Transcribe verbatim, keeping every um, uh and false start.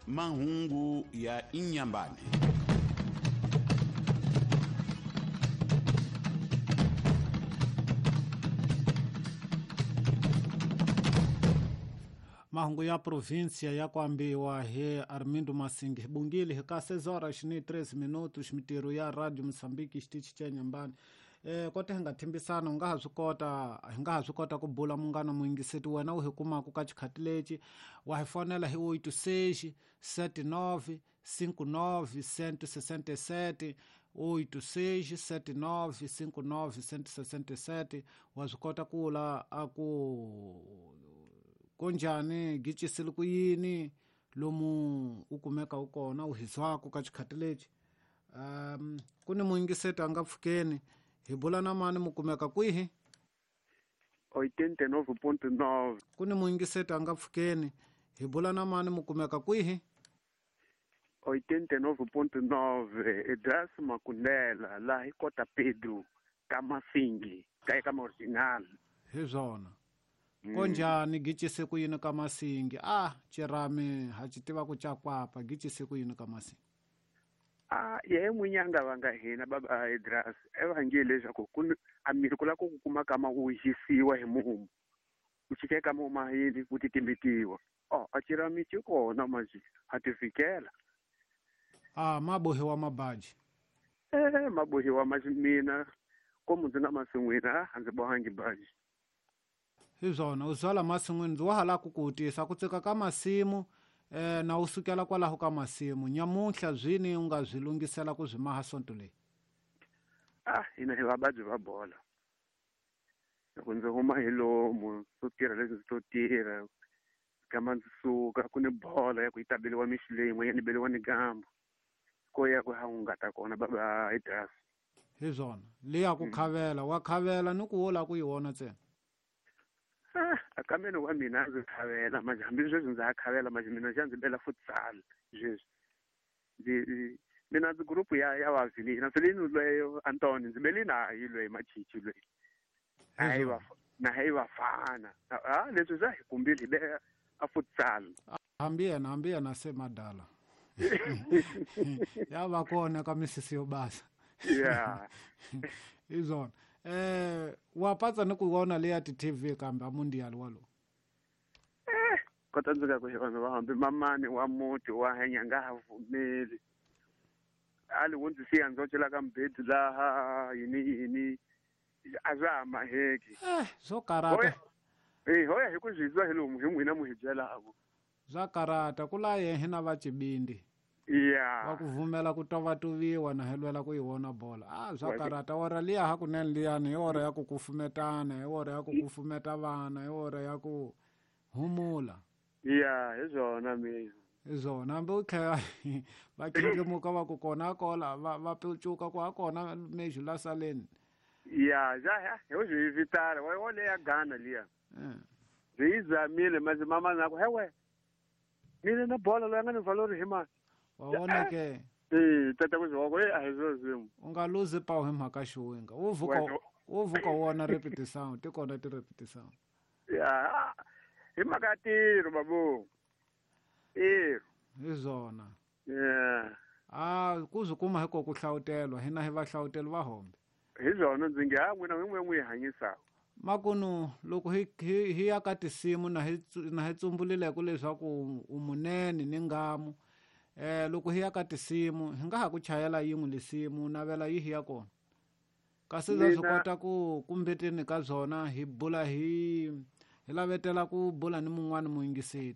Mahungu ya Inhambane. Mahungu ya província ya kuambiwa he Armindo Masingi bungile hika seis horas ni treze minutos mitiro ya Radio Moçambique xitichi cha Inhambane. Eh kote hi nga thimbisana u nga ha swi kota hi nga ha swi kota ku bula munghana muyingiseti wena u hi kumaka ka xikhati lexi wa hi fonela hi oito seis sete nove cinco nove cento e sessenta e sete oito seis sete nove cinco nove cento e sessenta e sete wa swi kota ku la a ku kunjhani gicisile ku yini lomu u kumeka u kona u hizwaku ka xikhati lexi. Um ku ni muyingiseti a nga pfukeni hi bula na mani mu kumeka kwihi? oitenta e nove ponto nove. Ku ni muyingiseti a nga pfukeni hi bula na mani mu kumeka kwihi? oitenta e nove ponto nove Edras Makundela laha hi Kota Pedro ka Masingi ka eka original. Hi swona. Konjani gicise ku yini ka Masingi? Ah chirami ha xi tiva ku chakwapa gicise ku yini ka Masingi? Ah ye n'winyanga va nga hina baba Edras e va nge leswaku ku a miri ku lava ku kuma kama wu hisiwa hi mumu u chike ka mumu yini ku titimbitiwa. Oh a chirami xi kona manje ha ti fikela. Ah mabohiwa mabaji. Eh mabohiwa maji mina komu ndzi nga masin'wini a ndzi bohangi baji. Hi swona u zwala masin'wini ndzi wa ha lava ku ku tisa ku tsika ka masimu eh na u sukela kwalaho ka masimu nyamuntlha zwini u nga swi lunghisela ku swi maha sonto leyi? Ah hina hi vababyi va bola loko ndzi huma hi lomu swo tirha leswi ndzi to tirha kama ndzi suka ku ni bola ya ku yi ta beliwa mixo leyi yin'wanyana yi beliwa ni gambu ko ya ku ha hungata kona baba Edras. Hi swona leya ku khavela wa khavela ni ku wo lava ku yi vona ntsena. Ah akameni wa mina ndzi khavela manje hambi sweswi ndza ha khavela manje mina xa ndzi bela futsal sweswi ndzi mina ndzi group ya ya va Vilina Vilina loyi Antoni ndzi beli na hi loyi Machichi loyi hayi va na hayi vafana ah leswi swa hi kumbile hi be a futsal. Hambi yena hambi yena se madala ya va kona ka misisi yo basa. Yeah hi swona. Eh wa patsa ni ku vona leya ti T V kambe a mundial walo. Eh kota ndzi ka ku vanhu va hambi mamani wa muti wa hanya nga ha vumeli ali wo ndzi siya ndzi cela ka mbedzi laha yini yini a swa ha maheki. Eh swo karata. Eh hoya hi ku swi twa hi lomu hi n'wina mu hi byelaka. Swa karata ku la yehe na va Cibindi. Yeah. Va ku vumela ku tovatuviwa na hi lwela ku yi vona bola. Ah swa karata ora liya hakunene liyani hi ora ya ku kufumetana hi ora ya ku kufumeta vana hi ora ya ku humula. Yeah hi swona mina. Hi swona hambi u tlhela va khindlimuka va ku kona kola va va pecuka ku ha kona mexu la saleni. Yeah ja hi swi hi vitana wa wo leya Ghana liya. Byi yi zamile manje mama na ku hewe mina na bola loyi a nga ni valori hi mani. Wa vona ke eh tata ku zwa ko a hi swo swimo u nga luzi pawu hi mhaka xiwinga wo vuka wo vuka wona repetition ti kona ti repetition. Ya hi mhaka ya tiro babu tiro hi swona. Yeah ah ku swi kuma hi ko ku hlawutelwa hina hi va hlawuteli va hombe. Hi swona ndzi nge ha n'wina n'win'we n'wi hanyisaka. Makunu loko hi hi ya ka tinsimu na hi na hi tsumbulileko leswaku u munene ni ngamu eh loko hi ya ka tinsimu hi nga ha ku chayela yin'we lisimu navela yi hi ya kona kasi za swi kota ku kumbeteni ka byona hi bula hi hi lavetela ku bula ni mun'wana muyingiseti.